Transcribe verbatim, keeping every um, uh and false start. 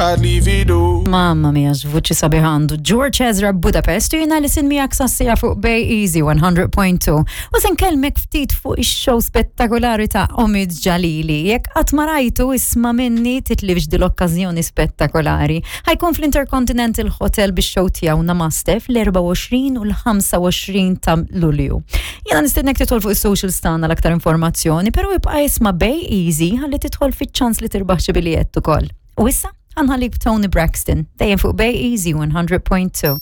I'd leave it all. Mamma mia, x'vuċi sabiħ għandu. George Ezra Budapest u jiena li sin miegħek sassija fuq Bay Easy one hundred point two. U se nkellmek ftit fuq ix-show spettakolari ta' Omid Jalili. Jekk qatt ma rajtu, isma' minni, titlifx din l-okkażjoni spettakolari. Ħa jkun fl-Intercontinental Hotel bix-show tiegħu Namaste fl-erbgħa u għoxrin u l-ħamsa u għoxrin ta' Lulju. Jiena nistednek tidħol fuq is-socials tagħna l-aktar informazzjoni, però ibqa' isma' Bay Easy ħalli tidħol fiċ-ċans li tirbaħ xi biljett ukoll. U issa ħa nħallik Toni Braxton, dejjem fuq Bay Easy one hundred point two.